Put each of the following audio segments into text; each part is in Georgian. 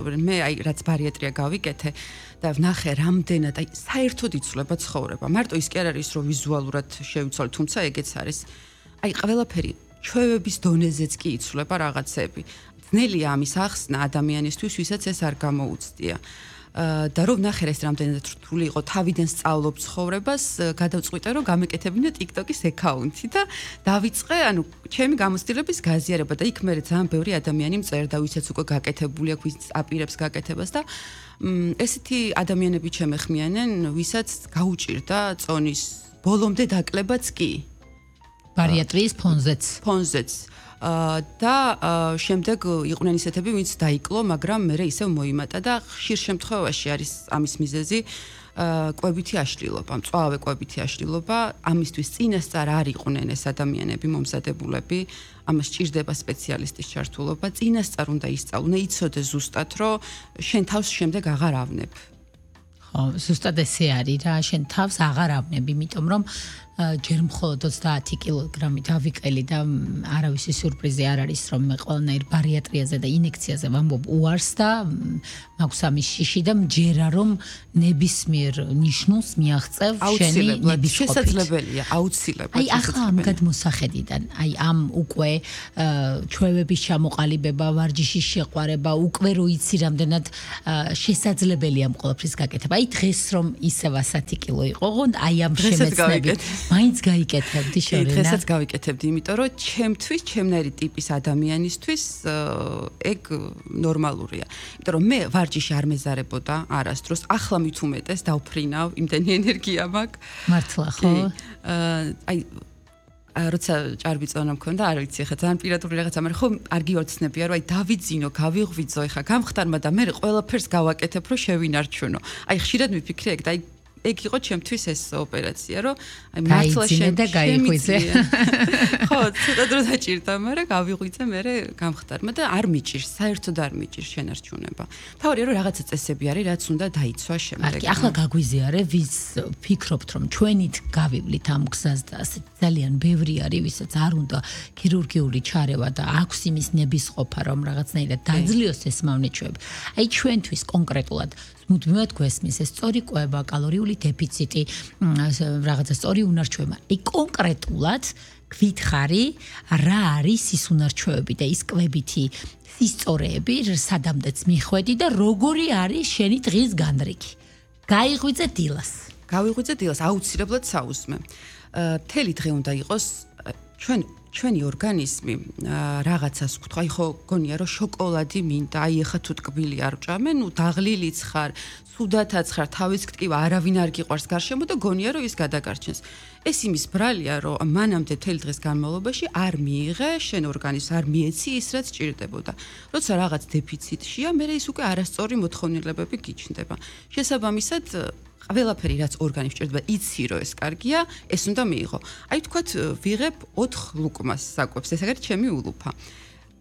მე აი რაც ბარიატრია გავიკეთე და ვნახე რამდენად აი საერთოდ იცვლება ცხოვრება. მარტო ის კი არ არის რომ ვიზუალურად შევიცვალე, თუმცა ეგეც არის. აი ყველაფერი ჩვევების დონეზეც კი იცვლება რაღაცები. ძნელია ამის ახსნა ადამიანისთვის, ვისაც ეს არ გამოუცდია. და რომ ნახე ეს რამდენად რთული იყო თავიდან სწავლობ ცხოვრებას, გადავწყვიტე რომ გამეკეთებინო TikTok-ის აკაუნთი და დავიწყე, ანუ ჩემი გამოცდილების გაზიარება და იქ მე ძალიან ბევრი ადამიანი მწერდა, ვისაც უკვე გაკეთებული აქვს, ვის აპირებს გაკეთებას და ესეთი ადამიანები ჩემეხმიანენ, ვისაც გაუჭირდა წონის ბოლომდე დაკლებაც კი. ბარიატრიის ფონზეც. და შემდეგ იყვნენ ისეთები, ვინც დაიკლო, მაგრამ მე ისევ მოიმატა და ხშირ შემთხვევაში არის ამის მიზეზი კვებითი აშლილობა, მწვავე კვებითი აშლილობა, ამისთვის წინასწარ არ იყვნენ ეს ადამიანები მომზადებულები, ამას ჭირდება სპეციალისტის ჩართულობა, წინასწარ უნდა ისწავლონ, იცოდე ზუსტად, რომ შენ თავს შემდეგ აღარ ავნებ. ხო, ზუსტად ესე არის რა, შენ თავს აღარ ავნებ, იმიტომ რომ ჯერ მხოლოდ 30 კილოგრამი დავიყელი და არავისი სიურპრიზი არ არის რომ მე ყველანაირ ბარიატრიაზე და ინექციაზე ვამბობ უარს და მაქვს ამის შიში და მჯერა რომ ნებისმიერ ნიშნულს მიაღწევ შენი ნების შესაძლებელია აუცილებლად აი ახლა ამ გადმოსახედიდან აი ამ უკვე ჩვევების ჩამოყალიბება ვარჯიშის შეყვარება უკვე რო იცი რამდენად შესაძლებელია ამ ყველაფრის გაკეთება აი დღეს რომ ისევ 100 კილო იყო ოღონდ აი ამ შემეცნებით მაინც გაიკეთებდი შორენა. დღესაც გავიკეთებდი, იმიტომ რომ ჩემთვის, ჩემნაირი ტიპის ადამიანისთვის ეგ ნორმალურია. იმიტომ რომ მე ვარჯიში არ მეზარებოდა არასდროს, ახლა მით უმეტეს დავფრინავ, იმდენი ენერგია მაქვს. მართლა ხო? აი როცა ჭარბი წონა მქონდა, არ ვიცი, ხა ძალიან პირადული რაღაცა, მაგრამ ხო არ გიოცნებია, რომ აი დავიძინო, გავიღვიძო, ხა გამხდარმა და მე ყველაფერს გავაკეთებ, რომ შევინარჩუნო. აი ხშირად მიფიქრე ეგ და აი ეგ იყო ჩემთვის ეს ოპერაცია, რომ აი მართლა შემიღვიძე. ხო, ცოტა დრო დაჭირდა, მაგრამ გავიღვიძე მე გამხდარმა და არ მიჭირს, საერთოდ არ მიჭირს შენარჩუნება. თავარია რომ რაღაცა წესები არის, რაც უნდა დაიცვა შემდეგ. ახლა გაგვიზიარე, ვის ფიქრობთ, რომ ჩვენით გავივლით ამ გზას და ძალიან ბევრი არის, ვისაც არ უნდა ქირურგიული ჩარევა და აქვს იმის ნებისყოფა, რომ რაღაცნაირად დაძლიოს ეს მავნეჩვეები. აი ჩვენთვის კონკრეტულად მუდმივად გვესმის ეს სწორი კვება, კალორიული დეფიციტი, რაღაცა სწორი უნარჩვება. აი კონკრეტულად გვითხარი, რა არის ის უნარჩვევები და ის კვებითი სისწორეები, სადამდეც მიხვედი და როგორი არის შენი დღის განრიგი. გაიღვიძე დილას. გავიღვიძე დილას, აუცილებლად საუზმე. მთელი დღე უნდა იყოს ჩვენი ორგანიზმი რაღაცას გვთქვა, აი ხო გონია რომ შოკოლადი მინდა, აი ეხა თუ ტკბილი არ ვჭამე, ნუ დაღლილიც ხარ, სუდათაც ხარ, თავის ქტივა არავინ არ გიყვარს გარშემო და გონია რომ ის გადაგარჩენს. ეს იმის ბრალია, რომ მანამდე მთელი დღის განმავლობაში არ მიიღე შენ ორგანიზმს, არ მიეცი ის რაც ჭირდებოდა. როცა რაღაც დეფიციტშია, მე ის უკვე არასწორი მოთხოვნილებები გიჩნდება. შესაბამისად ყველაფერი რაც ორგანიზმს ჭირდება, იცი რომ ეს კარგია, ეს უნდა მიიღო. აი თქვათ ვიღებ 4 ლუკმას საკვებს, ეს არის ჩემი ულუფა.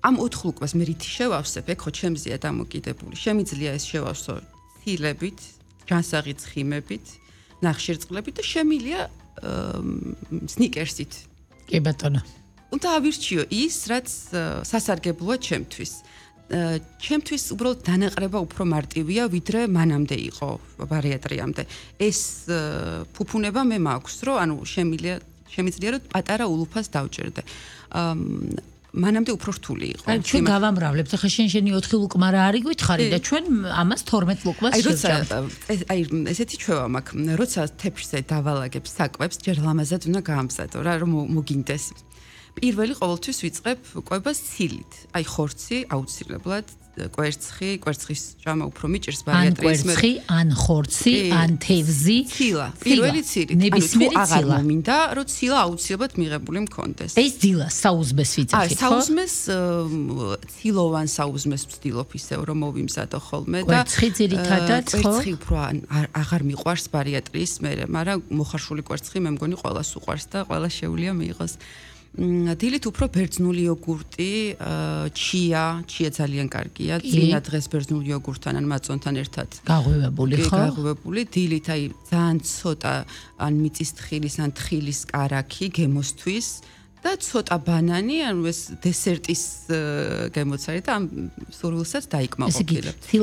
ამ 4 ლუკმას მე რითი შევავსებ, ეგ ხო ჩემზეა დამოკიდებული. შემიძლია ეს შევავსო ცილებით, ჯანსაღი ცხიმებით, ნახშირწყლებით და შემილია სნიკერსით. კი ბატონო. უნდა ავირჩიო ის, რაც სასარგებლოა ჩემთვის. ჩემთვის უბრალოდ დანაყრება უფრო მარტივია, ვიდრე მანამდე იყო ბარიატრიამდე. ეს ფუფუნება მე მაქვს, რომ ანუ შემიძლია რომ პატარა ულუფას დავჭერდე. მანამდე უფრო რთული იყო. აი ჩვენ გავამრავლებთ, ახლა შენი 4 ლუკმა რა არის გითხარი და ჩვენ ამას 12 ლუკმას შევჭამთ. აი ესეთი ჩვევა მაქვს, როცა თეფშზე დავალაგებ საკვებს, ჯერ ლამაზად უნდა გაამზადო რა, რომ მოგინდეს. პირველი ყოველთვის ვიწყებ კვებას ცილით. აი ხორცი აუცილებლად, კვერცხის ჭამა უფრო მიჭირს ბარიატრიის მე. ან კვერცხი, ან ხორცი, ან თევზი, ცილა. პირველი ცილით. ნებისმიერი ცილა. აღარ მომინდა, რომ ცილა აუცილებლად მიღებული მქონდეს. ეს დილა საუზმეს ვიძახით, ხო? საუზმეს ცილოვან საუზმეს ვცდილობ ისევ რომ მოვიმზადო ხოლმე და კვერცხი ძირითადად, ხო? კვერცხი უფრო აღარ მიყვარს ბარიატრიის მე, მაგრამ მოხარშული კვერცხი მე მგონი ყველას უყვარს და ყველა შეუძლია მიიღოს. დილით უფრო ბერძნული იოგურტი, ჩია ძალიან კარგია. წინა დღეს ბერძნული იოგურტთან ან მაწონთან ერთად გაღვივებული, ხო? გაღვივებული. დილით აი ძალიან ცოტა ან მიწის თხილის ან თხილის კარაქი გემოსთვის და ცოტა ბანანი, ანუ ეს დესერტის გემოცარი და ამ სურვილსაც დაიკმაყოფილებ. ესე იგი,